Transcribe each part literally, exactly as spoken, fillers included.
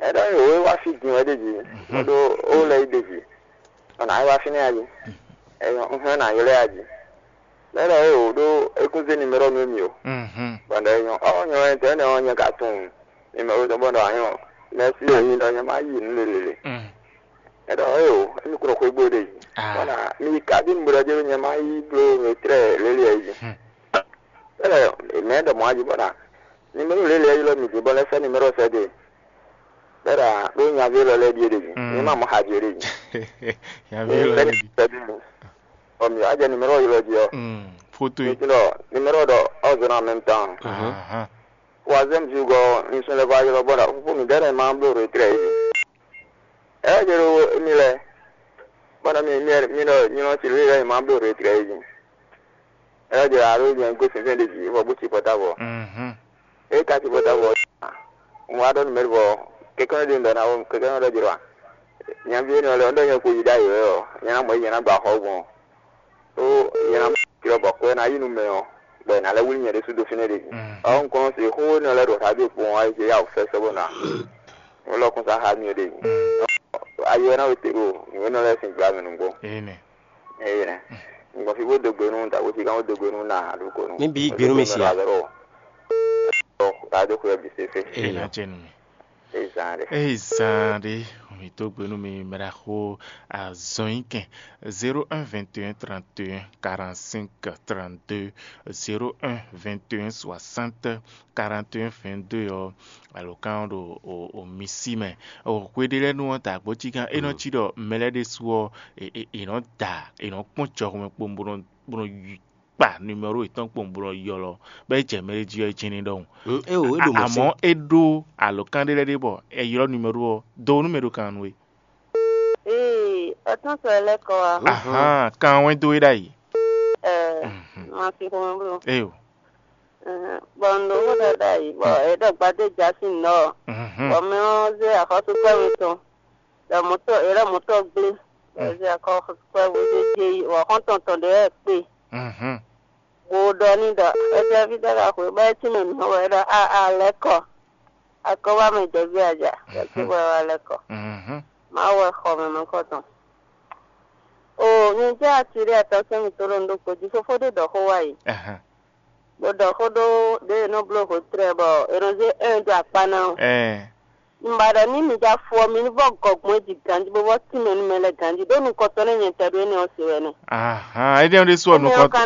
Ɛ ɖɔ yě wá fí din wɛ ɖ'é jí, bó ɖó ó lɛ́ yí ɖ'é jí. Bɔ nǎ yi wá fínɛ́ a jí? Ɛyɔ, un hɛn nǎ ylɔ́ ɛ a jí. Lɛ́ ɖɔ é wǒ ɖó é kún zé nimero nú mì o. Bɔ ɖɔ é nyɔ ɔ́ nyɔ ɛntɛ́nɛ́ ɔ́ nyɛ ka tunwun nimero tɔn bɔ ɖɔ a nyɔ mɛ̌si ɔ́ nyi ɖɔ nyɛ má yi nǔ lělélé. Ɛ ɖɔ é wǒ émi kún ɖo xwé gbo ɖe yi. Bɔ ná mi yi kabín bo ɖɔ jɛ nyɛ má yi bló retrɛ́ lélé ɛ yi. Ɛ ɖɔ mɛ ɖɔ mɔ̌ a jí bɔ ná nimero lélé ɛ ylɔ́ mì din bɔ lɛ́ sɛ́ nimero sɛ́ dó e. Bɛ́ ɖɔ ɖó nyaví élɔ́ lɛ́ɛ ɖíe ɖe jí. Ní ma mɔ xají ɖe jí. Nyaví élɔ́ lɛ́ɛ ɖi. Sɛ́dí mi. Bɔ mǐ wá jɛ numéro ylɔ́ jí ɔ́. Foto Mi e. Tunɔ numéro ɖɔ ɔ́ zɔn en même temps. Ahan. Troisième jour gɔ ní sún lɛ́ vɔ ayɔ́lɔ bɔ ɖɔ fúfú mǐ dɛ́ nɛ ma bló retrɛ́ é. Ɛ jɛ ɖo émi lɛ. Bɔ nɔ mi mi mi ɖɔ nylɔ ci lě lɛ ma bló retrɛ́ é jí. Ɛ jɛ alo nyɛ gosín fɛn ɖe jí vɔ bó ci pɔtavɔ. Mhm. E ka ci bɔ ta bɔ un wa ɖɔ numɛri bɔ kɛkɛ ɖe ŋdɔ na wo kɛkɛ ɖɔ jɛ wa nyavi énɛ́ lɛ ɔ́ ɖɔ nyɛ ko yi ɖ'ayǐ wɛ ɔ́ nyɛ ná mɔ yi nyɛ ná gba xɔ gbɔn. Ó nyɛ ná mɔ tirɔ bɔ xwɛ ná yi nú mɛ ɔ́ bɔ è nǎ lɛ́ wlí nyɛ ɖésú dó fínɛ́ ɖe. Ɔ́ un kɔn se xó énɛ́ lɛ́ ɖo radio kpowun ayé jɛ yá wǔ fɛ́ sɔ́ bó ná un lɔ kún sa xá mì ɖe. Ayé ɔ́ ná wete ɖo nǔ énɛ́ lɛ́ɛ sín gbla mɛ nǔgbó. Ene. Ngɔfi bó dó gbe nú dǎgbócí gán bó dó gbe nú na aɖúgbò nú. Níbi yí gbe nú mi si a? Ɔ, ta dó xwé bǐ se fé. Ee. Ena jɛ nu mi. Ezan ɖe. Eyi zan ɖe. Mi dó gbe nú mi mɛ ɖaxó azɔn yí kɛn. Zéro un vingt et un trente et un quarante-cinq trente-deux, zéro un vingt et un soixante quarante et un vingt-deux ɔ́, alǒkan ɔ́ ɖo o, o mi sí mɛ. O hwe ɖé lɛ́ɛ nu ɔ́, dǎgbócí gán é nɔ cí ɖɔ mɛ lɛ́ɛ ɖésú ɔ́, è- è- è nɔ da, è nɔ kpɔ́n jɔhɔn mɛ kpowun bó nɔ bó nɔ yi- kpa numéro yětɔn kpowun bó nɔ ylɔ́, bɔ é jɛ mɛ ɖé jí ɔ́, é jɛ́n ní ɖɔhun. Mm, é o, é ɖo mɔ̌ Àmọ́ sɛ́. É ɖó alǒkan ɖé lɛ́ɛ ɖé bɔ è ylɔ́ numéro ɔ́ dó nú mɛ ɖo kan nú we. Ee, ɔtún sɔ lɛ kɔ wa. Ahan, kan wɛn dó é ɖ'ayǐ. Ɛɛ, Mhm. Ma fi xɔmɛ blo. Eyo. Bɔ n ɖo xó ɖaɖa yi bɔ e ɖɔ gbadé ja sín nɔ. Mhm. Bɔ mɛ ɔ́ zé axɔ́súkpɛ́ mitɔn ɖɔ mɔ̌tɔ e ɖɔ mɔ̌tɔ gblé bɔ e zé axɔ́súkpɛ́ bó zé dze yi bɔ xɔ́ntɔn tɔn ɖě wɛ kpe Mhm. Bó ɖɔ n'i ɖɔ étɛ́ví ɖɔ ka xwe bɔ é cí mɛ mǐ wɛ ɖɔ a a lɛ́ kɔ akɔ́wá mɛ jɛví aja bɔ é cí wɛ wá lɛ́ kɔ. Mhm. Mawu wɛ xɔ mɛ mɛkɔ tɔn. O nyɛ jɛ ati ɖé atɔ́ sɛn mì tó ɖo nɖó kpo jí fófó ɖé ɖɔ xó wá yi. Ahan. Bó ɖɔ xó ɖó ɖě e nɔ bló hǒtlɛ bɔ è nɔ zé un dó akpá ná ɔ́. Ɛɛ. Un ba ɖɔ ní mi ja fo ɔ́, mi ní vɔ gɔgbɔn jí ganjí bó vɔ tínmɛ nú mɛ lɛ́ɛ ganjí ɖó nukɔntɔn nɛ́ nyɛ tɛ ɖó énɛ́ ɔ́ se wɛ nɛ́. Ahan, énɛ́ ɔ́ ɖésú ɔ́ Énɛ́ ɔ́ nukɔntɔn ka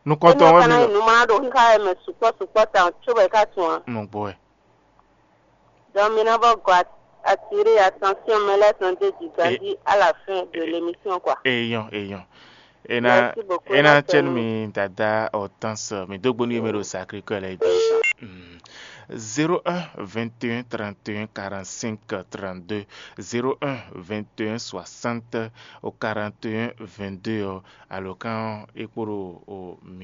nukɔntɔn énɛ́ ɔ́ wɛ ka mi ná yi ɖɔ. Nǔ ma ɖo xíxá wɛ mɛ sukpɔ́ sukpɔ́ tawun có bɔ é ka tunwun ǎ. Nɔgbɔ wɛ. Donc mi ná vɔ gɔ at- attirer attention mɛ lɛ́ɛ tɔn d'é jí ganjí à la fin de l'émission quoi. Eyɔn, eyɔn. Ena Merci beaucoup, ena Nathalie. Cɛn mi dada Hortense, mi dó gbónú yémɛ ɖo Sacré-Cœur lɛ́ɛ jí. Mm. Zéro un vingt et un trente et un quarante-cinq trente-deux, zéro un vingt et un soixante au quarante et un vingt-deux ɔ́, alǒkan ɔ́ é kpo ɖo o mi